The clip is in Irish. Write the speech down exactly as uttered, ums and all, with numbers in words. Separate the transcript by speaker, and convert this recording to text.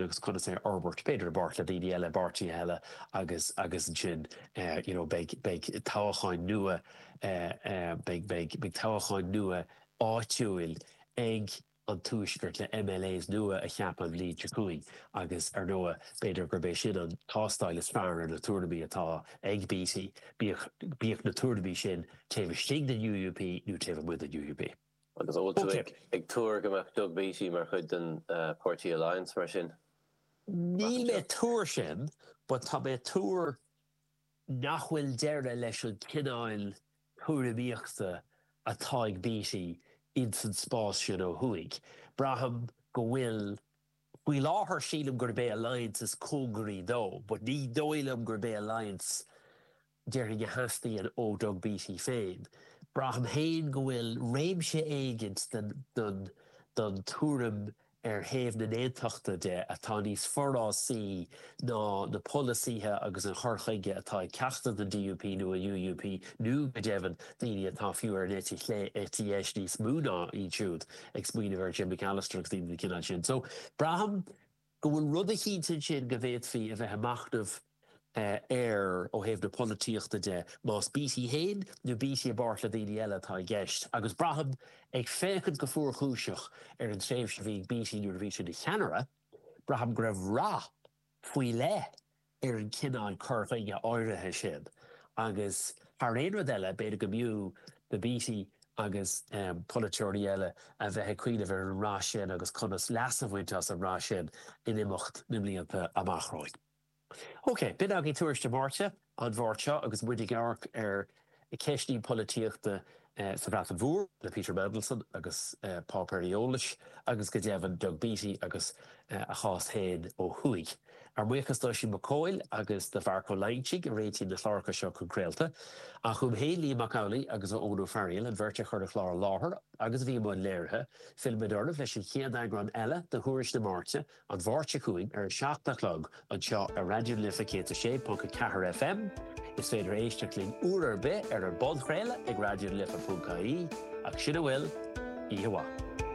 Speaker 1: agus conas é a fhorbairt b'fhéidir i bpáirt le daoine eile páirtithe eile agus agus ansin eh, you know, beidh beidh toghcháin nua eh, eh, beidh beidh beidh toghcháin nua áitiúil ag an tuaisceart le MLAs nua a cheapadh an bhliain seo chugainn agus ar ndóigh b'fhéidir gurb é sin an tástáil is fearr ar na tuairimí atá ag Beattie bíodh bíodh na tuairimí sin taobh istigh den UUP nó taobh amuigh den UUP.
Speaker 2: Agus an bhfuil tú ag ag tuar go mbeadh Doug Beattie mar chuid den Party Alliance mar sin?
Speaker 1: Níl mé ag tuar sin, but tá mé ag tuar nach bhfuil deireadh leis an cineál tuairimíochta atá ag Beattie ins an spás sin ó thuaidh. Braithim go bhfuil, faoi láthair sílim gurb é Alliance is cóngaraí dó, but ní dóigh liom gurb é Alliance déarfainn a theastaíonn ó Doug Beattie féin. Braithim féin go bhfuil réimse éigint den den den tuairim ar thaobh na n-aontachtaithe de atá níos forásaí ná na polasaithe agus an chur chuige atá ag ceachtar den DUP nó an UUP nó go deimhin daoine atá fiú ar an eite chlé, eite dheis níos mó ná iad siúd, ag smaoineamh ar Jim McAllister agus daoine den chineál sin. So, braithim go bhfuil rud eicínt ansin go bhféadfaí a bheith ag machnamh air ó thaobh na polaitíochta de, más Beattie féin nó Beattie i bpáirt le daoine eile atá i gceist. Agus braithim, ag féachaint go fuarchúiseach ar an tréimhse a bhí ag Beattie nuair a bhí sé ina cheannaire, braithim go raibh rath faoi leith ar an chineál cur chuige áirithe sin. Agus thar aon rud eile, b'fhéidir go mb'fhiú do Beattie agus polaiteoirí eile a bheith ag cuimhneamh ar an rath sin agus conas leas a bhaint as an rath sin in imeacht na mblianta amach romhainn. Ok, b'in againn Tuairisc na Máirte, an Mháirt seo agus muid ag amharc ar cheisteanna polaitíochta sa Bhreatain Mhór le Peter Mandelson agus páipéirí eolais agus go deimhin Doug Beattie agus a chás féin ó thuaidh. Ár mbuíochas d'Oisín Mac Cóil agus do Mharc Ó Loingsigh a réitíonn na cláracha seo chun craolta. Ach uaim féin, Liam Mac Amhlaigh agus ó Eoin Ó Fearghaíl, an bheirt a chuir an clár i láthair agus a bhí i mbun léirithe, fillfimid oraibh leis an chéad eagrán eile de Thuairisc na Máirte, An Mháirt seo chugainn ar a seacht a chlog anseo ar Raidió na Life céad a sé ponc a ceathair FM. Is féidir éisteacht linn uair ar bith ar an bpodchraoladh ag raidionalife ponc ie. Ach sin a bhfuil, oíche mhaith.